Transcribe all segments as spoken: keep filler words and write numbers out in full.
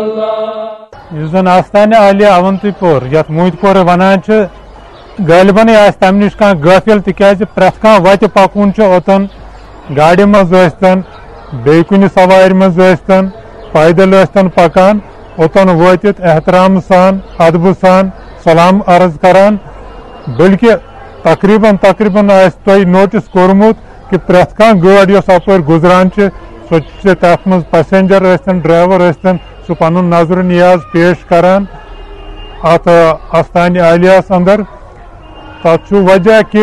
یُس زن آستانہِ عالیہ اونتی پور، یتھ موٗتۍ پورٕ ونان چھِ، غٲلبنٕے آسہِ تمہِ نِش کانٛہہ غٲفِل، تِکیازِ پرٛٮ۪تھ کانٛہہ وتہِ پکوُن چھُ اوٚتن گاڑِ منٛز ٲسۍتن، بیٚیہِ کُنہِ سوارِ منٛز ٲسۍتن، پیدل ٲسۍتن پکان، اوٚتن وٲتِتھ احترام سان، ادبہٕ سان سلام عرض کران، بلکہِ تقریباً، تقریباً آسہِ تۄہہِ نوٹس کوٚرمُت کہِ پرٛٮ۪تھ کانٛہہ گٲڑۍ یۄس اپٲرۍ گُزران چھِ، سۄ چھِ تتھ منٛز passenger ٲسۍتن، driver ٲسۍتن، سُہ پنُن نظر و نیاز پیش کران اتھ، آ، آستانہِ عالیہس اندر۔ تتھ چھُ وجہ کہِ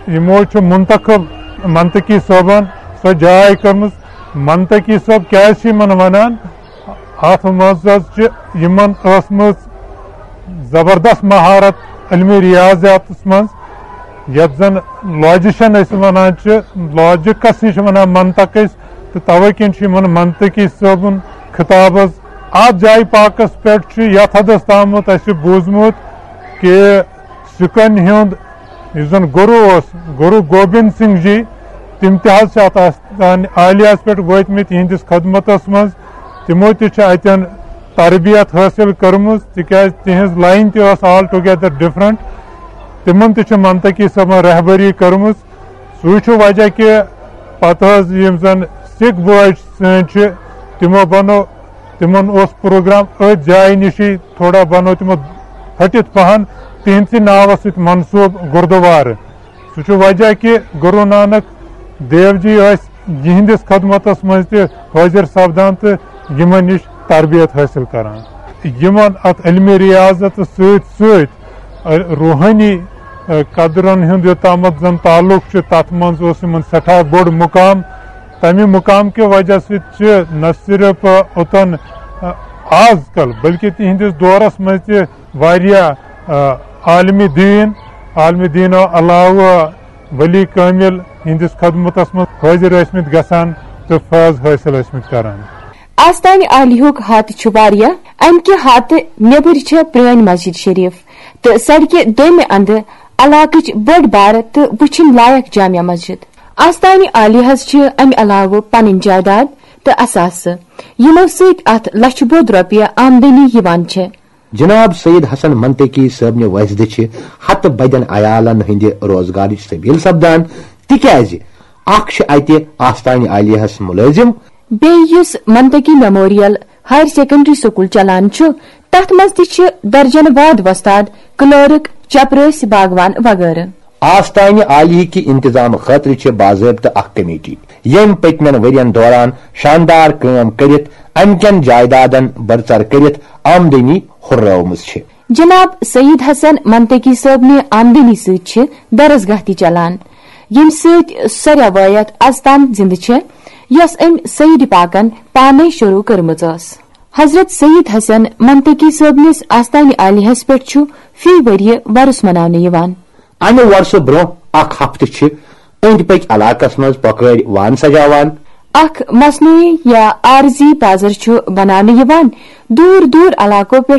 یِمو چھُ منتخب منطقی صٲبن سۄ جاے کٔرمٕژ۔ منطقی صٲب کیازِ چھِ یِمن ونان؟ اتھ منٛز حظ چھِ یِمن ٲسمٕژ زبردست مہارت علمِ ریاضیاتس منٛز، یتھ زن logician أسۍ ونان چھِ، logic-س چھِ ونان منطق أسۍ، تہٕ توے کِنۍ چھُ یِمن منطقی صٲبُن خطاب حظ۔ اتھ جایہِ پاکس پٮ۪ٹھ چھُ یتھ حدس تامتھ اسہِ بوٗزمُت کہِ سِکن ہُنٛد یُس زن گُروٗ اوس، گُروٗ گوبند سنگھ جی، تِم تہِ حظ چھِ اتھ آستان عالیہس پٮ۪ٹھ وٲتمٕتۍ یِہنٛدِس خدمتس منٛز۔ تِمو تہِ چھِ اتٮ۪ن تربیت حٲصِل کٔرمٕژ، تِکیازِ تِہنٛز line تہِ ٲس altogether different۔ تِمن تہِ چھِ منطقی صٲبن رہبری کٔرمٕژ۔ سُے چھُ وجہ کہِ پتہٕ حظ یِم زن سکھ بٲے سٲنۍ چھِ، تِمو بنوو، تِمن اوس program أتھۍ جایہِ نِشٕے، تھوڑا بنوو تِمو پھٔٹِتھ پہن، تِہنٛدسٕے ناوس سۭتۍ منسوب گُردوارٕ۔ سُہ چھُ وجہ کہِ گُروٗ نانک دیو جی ٲسۍ یِہنٛدِس خدمتس منٛز تہِ حٲضِر سپدان تہٕ یِمن نِش تربیت حٲصِل کران۔ یِمن اتھ علمِ ریاضتس سۭتۍ سۭتۍ روحٲنی، ا، قدرن ہُنٛد یوٚتامتھ زن تعلق چھُ، تتھ منٛز اوس یِمن سٮ۪ٹھاہ بوٚڑ مُقام۔ تمہِ مُقام کہِ وجہ سۭتۍ چھِ نہ صرف اوٚتن، ا، آز کل، بلکہِ تِہنٛدِس دورس منٛز تہِ واریاہ، ا، عالمِ دیٖن، عالمِ دیٖنو علاوٕ ولی کٲمِل ہِنٛدِس خدمتس منٛز حٲضِر ٲسۍمٕتۍ گژھان تہٕ فٲض حٲصِل ٲسۍمٕتۍ کران۔ آستانہِ عالیہُک ہاتہٕ چھُ واریاہ۔ امہِ کہِ ہاتہٕ نیبٕرۍ چھےٚ پرٛٲنۍ مسجد شریف تہٕ سڑکہِ دوٚیمہِ اندٕ علاقٕچ بٔڑ بارٕ تہٕ وٕچھِنۍ لایق جامع مسجد۔ آستانہِ عالیہس چھِ امہِ علاوٕ پنٕنۍ جائیداد تہٕ اثاثہٕ، یِمو سۭتۍ اتھ لچھِ بوٚد رۄپیہِ آمدنی یِوان چھےٚ۔ جناب سید حسن منطقی صٲبنہِ وٲسِدٕ چھِ ہتہٕ بدٮ۪ن عیالن ہٕنٛدِ روزگارٕچ سبیل سپدان، تِکیازِ اکھ چھِ اتہِ آستانہِ عالیہس مُلٲزِم۔ بیٚیہِ یُس منطقی میموریل ہائر سیکنڈری سکول چلان چھُ، تتھ منٛز تہِ چھِ درجن واد وۄستاد، کلرک، چپرٲسۍ، باغوان وغٲرٕ۔ آستانہِ عالیہ کہِ انتظام خٲطرٕ چھِ باضٲبطہٕ اکھ کمیٹی، ییٚمۍ پٔتمٮ۪ن ؤرین دوران شاندار کٲم کٔرِتھ امہِ کٮ۪ن جائیدادن بڑژر کٔرِتھ آمدنی ہُررٲومٕژ چھِ۔ جناب سید حسن منطقی صٲبنہِ آمدنی سۭتۍ چھِ درسگاہ تہِ چلان، ییٚمہِ سۭتۍ سۄ روایت از تام زندٕ چھےٚ، یۄس أمۍ سید پاکن پانے شروع کٔرمٕژ ٲس۔ حضرت سید حسن منطقی صٲبنِس آستانہِ عالیہس پٮ۪ٹھ چھُ فی ؤریہِ وۄرُس مناونہٕ یِوان۔ امہِ وۄرسہٕ برونٛہہ اکھ ہفتہٕ چھِ أنٛدۍ پٔکۍ علاقس منٛز پۄکٲرۍ وان سجاوان۔ اکھ مصنوعی یا عارضی بازر چھُ بناونہٕ یِوان۔ دوٗر دوٗر علاقو پٮ۪ٹھ